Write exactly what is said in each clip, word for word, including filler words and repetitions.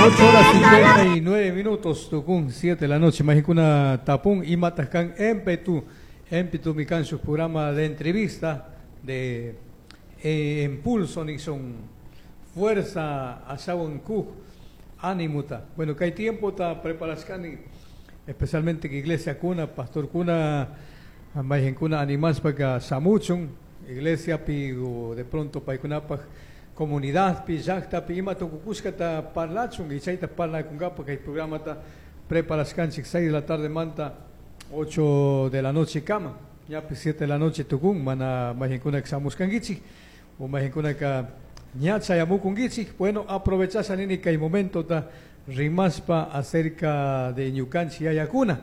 Ocho horas cincuenta y nueve minutos, tukun siete de la noche, Majikuna tapun imataj empetu, empetu mi su programa de entrevista de eh, Impulso Nixon, Fuerza Asawan Kuj, Animuta. Bueno, que hay tiempo ta preparascani, especialmente que iglesia kuna, pastor kuna, kuna animas para samuchun, iglesia pi de pronto paikunapaj comunidad pi llaqta pi ima tukukushkata parlachun y chayta parlakunkapaj kay programa ta preparaskanchik seis de la tarde manta ocho de la noche kama ñapi siete de la noche tukun mana mayqinkunaka shamushkankichik o mayqinkunaka ña chayamukunkichik. Bueno, aprovechasha nini kay momento ta rimaspa acerca de ñukanchik yayakuna,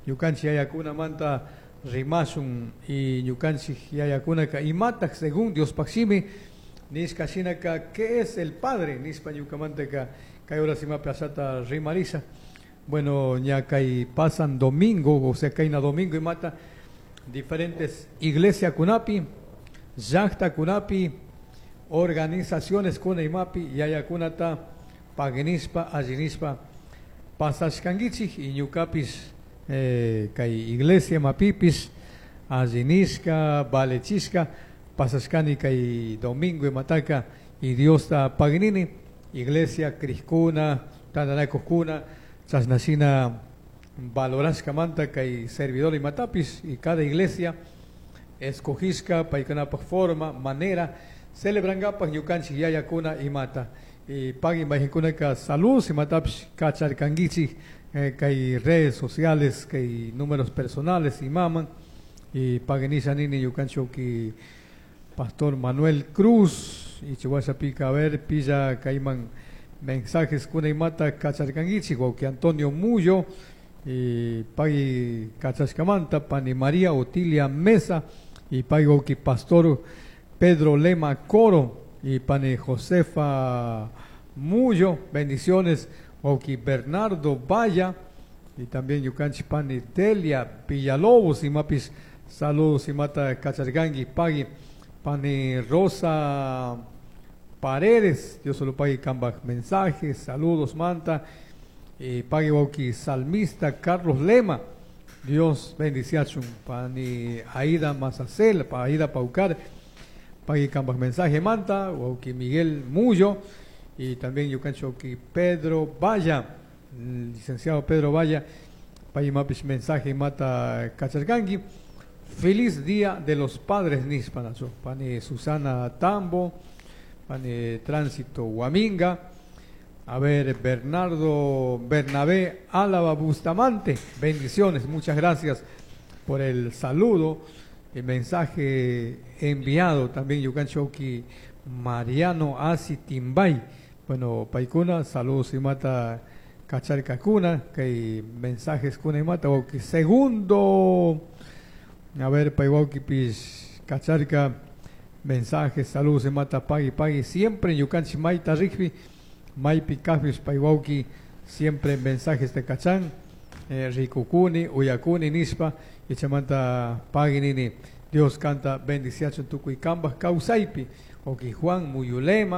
ñukanchik yayakuna manta rimasun y ñukanchik yayakunaka imataj según Diospaj shimi nishka shinaka, ¿qué es el padre? Nispa ñukamantaka kay horas ima plazata rimarisa. Bueno, ña kay pasan domingo, o sea, kayna domingo imata diferentes iglesia kunapi, llaqta kunapi, organizaciones kuna imapi, yayakunata paguinispa, allinispa pasashkankichik y ñukapis eh, kay iglesia mapipis allinisca, valechisca pasashkani kay domingo imataka y Diosta paginini, iglesia criskuna, tandanakujkuna, chashnashina valorashkamanta kay servidor imatapis y cada iglesia escogishka paykunapaj forma, manera celebrangapaj ñukanchik yayakuna imata y pagui mayqinkunaka saludos imatapis kacharkankichik eh, kay redes sociales, kay números personales imaman y paguinisha nini ñukanchik Pastor Manuel Cruz y Chihuahua a ver pilla kayman mensajes kuna imata kacharkankichik que Antonio Mullo y pagui kachashkamanta pani María Otilia Mesa y pagui wawki Pastor Pedro Lema Coro y pani Josefa Mullo, bendiciones wawki Bernardo Valla y también ñukanchik pani Delia Villalobos y mapis saludos imata kacharkanki pagui pani Rosa Paredes, Dios solo pague kambaj mensajes, saludos manta, y pagui wawki salmista Carlos Lema, Dios bendiciachun, pani Aida Mazacel, pa Aida Paucar, pagui kambaj mensaje manta, wawki Miguel Mullo, y también ñukanchik wawki Pedro Valla, licenciado Pedro Valla, pagui mapis mensaje mata kacharkanki. Feliz Día de los Padres nispanacho, pani Susana Tambo, pani Tránsito Huaminga, a ver Bernardo Bernabé Álava Bustamante, bendiciones, muchas gracias por el saludo, el mensaje enviado también ñukanchik wawki Mariano Asi Timbay, bueno, paykuna, saludos imata kacharkakuna, que mensajes kuna imata, wawki segundo, a ver, pay wawkipis kacharka, mensajes, saludos imata pagui pagui, siempre ñukanchik mayta rikpi, maypi kajpis pay wawki, siempre mensajes de kachan, eh, rikukuni, uyakuni nispa, y chaymanta pagui nini, Dios kanta bendiciachun tukuy kambaj kawsaypi, wawki Juan Muyulema,